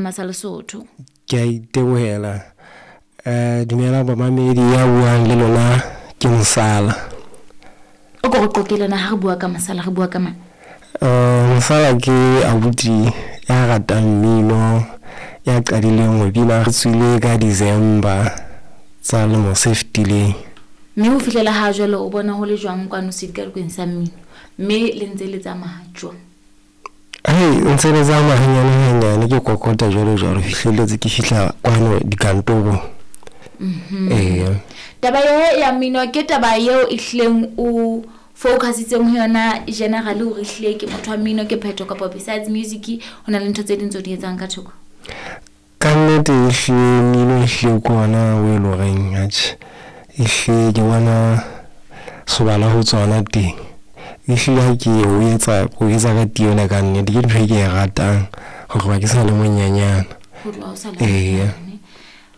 Seema sa Lesotho. Ke a itebohela. Dumelang bamamedi, ya buang le lona ke Mosala. O ko re qoqele na ha re bua ka Mosala re bua ka mang? Mosala ke abuti ya ratang mmino, ya qadileng ho bina re tswile ka December tsa lemo se fetileng. Mme ho fihlela ha jwale o bona ho le jwang kwano sedikadikong sa mmino, mme le ntse le tsamaya jwang? Hei, ntse le tsamaya hanyane hanyane, ke kokota jwalo jwalo fihlelletse ke fihla kwano dikantorong. Eya. Taba ye ya mmino ke taba eo e hlileng o focusitseng ho yona generally hore ehlile ke motho wa mmino ke phetho, kapa besides music ho na le ntho tse ding tse o di etsang ka thoko? Ka nnete ehlile mmino ehlile ke ona o e leng horeng atjhe ehlile ke bona sobala ho tsona teng. Ehlile ha ke o etsa, o etsa ka tiyo le ka nnete, ke ntho e ke e ratang ho tloha ke sa le monyenyana. Ho tloha o sa le Eya. monyenyane.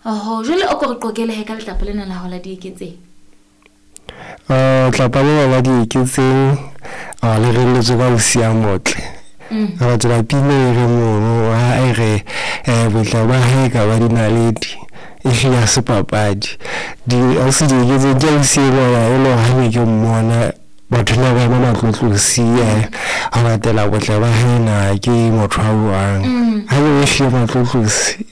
Oho, jwale o ko re qoqele he ka letlapa lena la hao la Dieketseng. Tlapa lena la Dieketseng le relletswe ka ausi a motle. Re latela pina e reng mono ha e re botle ba hae ka ba dinaledi, ehlile ha se papadi. Ausi Dieketseng ke ausi enwa e le hore ha ne ke mmona batho na ba ema matlotlosi ho latela botle ba hae na ke motho a jwang. Ha ne ehlile matlotlosi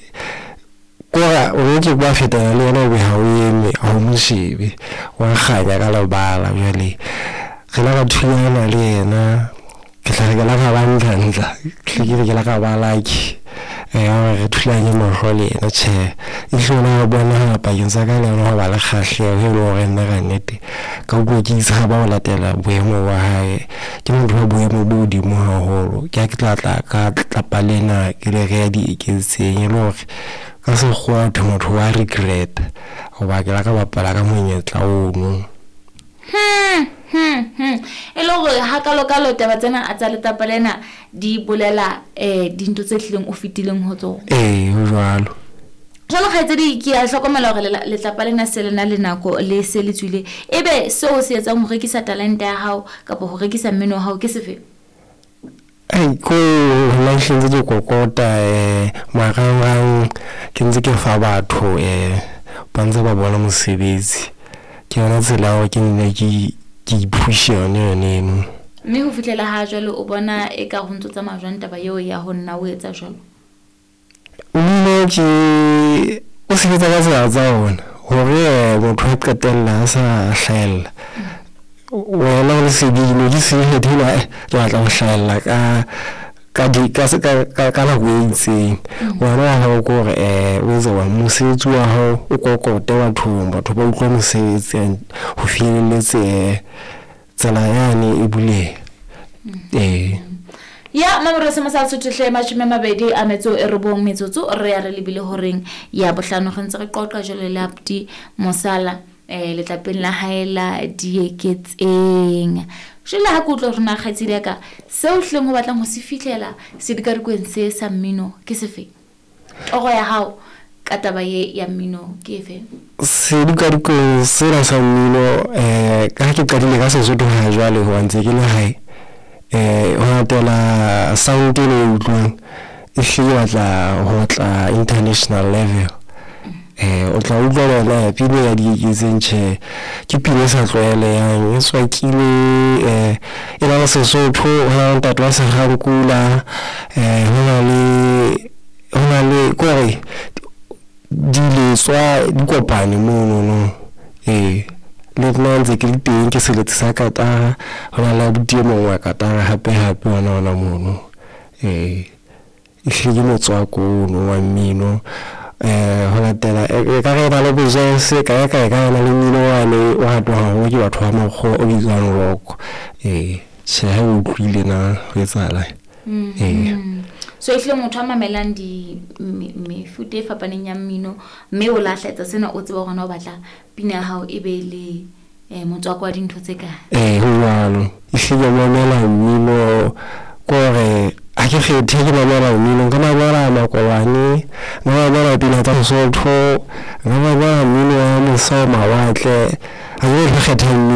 kora o ntse ba fetana le yena o be ha o eme ha o mo shebe, wa kganya ka lebala. Jwale re la ra thulana le yena, ke tla re ke la ka ba ntlantla, ke hle ke re ke la ka ba lucky hore re thulanye mahlo le yena. Tjhe, ehlile ona a bonahala pakeng tsa ka le yena ho ba le kgahleho e leng hore nna ka nnete ka utlwa ke tshaba ho latela boemo ba hae. Ke motho wa boemo bo hodimo haholo. Ke ha ke tla tla ka tlapa lena ke le reha Dieketseng, e le hore ka sekgowa thwe motho wa regret hoba ke la ka bapala ka monyetla ono. E le hore hakalokalo taba tsena tsa letlapa lena di bolela dintho tse hlileng o fetileng ho tsona. Ee, ho jwalo. Jwalo kgaitsedi, ke a hlokomela hore letlapa lena se lena le nako le se le tswile. Ebe seo se etsang ho rekisa talente ya hao kapa ho rekisa mmino wa hao ke sefe? Ai, ko nna ehlile ntse ke kokota marangrang, ke ntse ke fa batho ba ntse ba bona mosebetsi. Ke yona tsela ya hore ke nne ke iphushe yona yone eno. Mme ho fihlela ha jwale o bona eka ho ntso tsamaya jwang taba eo ya ho nna o etsa jwalo? Mmino ke o sebetsa ka tsela tsa ona hore motho a qetella a sa hlahella. Wena o le sebini, ke sebini ke batla ho hlahella ka nako e itseng. Wena wa hao ke hore o etse jwang mosebetsi wa hao o kokote bathong, batho ba utlwe mosebetsi ho finyelletse tsela yane e buleha. Ee. Ya Mamelodi Seema sa Lesotho hle 29 metsotso re ya re lebile horeng ya bohlano, re ntse re qoqa jwale le abuti Mosala letlapeng la hae la Dieketseng. Jwale ha ke utlwa hore na kgaitsedi ya ka seo hlileng ho batlang ho se fihlela sedikadikweng se sa mmino ke sefe? Toro ya hao ka taba ye ya mmino ke efe? Sedikadikweng sena sa mmino ka ha ke qadile ka Sesotho ha jwale hoba ntse ke le hae, ho latela sound eno e utlwang ehlile ke batla ho tla international level. O tla utlwa le yona pina ya Dieketseng, tjhe ke pina e sa tlwaelehang, e tswakile e na le Sesotho, ho na le ntate wa Sekgankula, ho na le kore diletswa di kopane monono. Ee, le nna ntse ke le teng ke seletsi sa katara, ho na le abuti e mong wa katara hape hape hona hona mono. Ee, ehlile ke motswako ono wa mmino ho latela ekare e na le bo-jazz, kae kae ka na le mmino wane o ratwang haholo ke batho ba makgowa o bitswang rock. Ee, tjhe ha o utlwile na ho etsahalang. Ee. So ehlile motho a mamelang di mefuta e fapaneng ya mmino, mme o la hlaetsa sena o tseba hore na o batla pina ya hao e be le motswako wa dintho tse kae. Ee, ho jwalo. Ehlile ke mamela mmino kore ha ke kgethe, ke mamela mmino, nka mamela makolwane, nka mamela pina tsa Sesotho, nka mamela mmino wa mose ho mawatle. Ha ke kgetha mmino.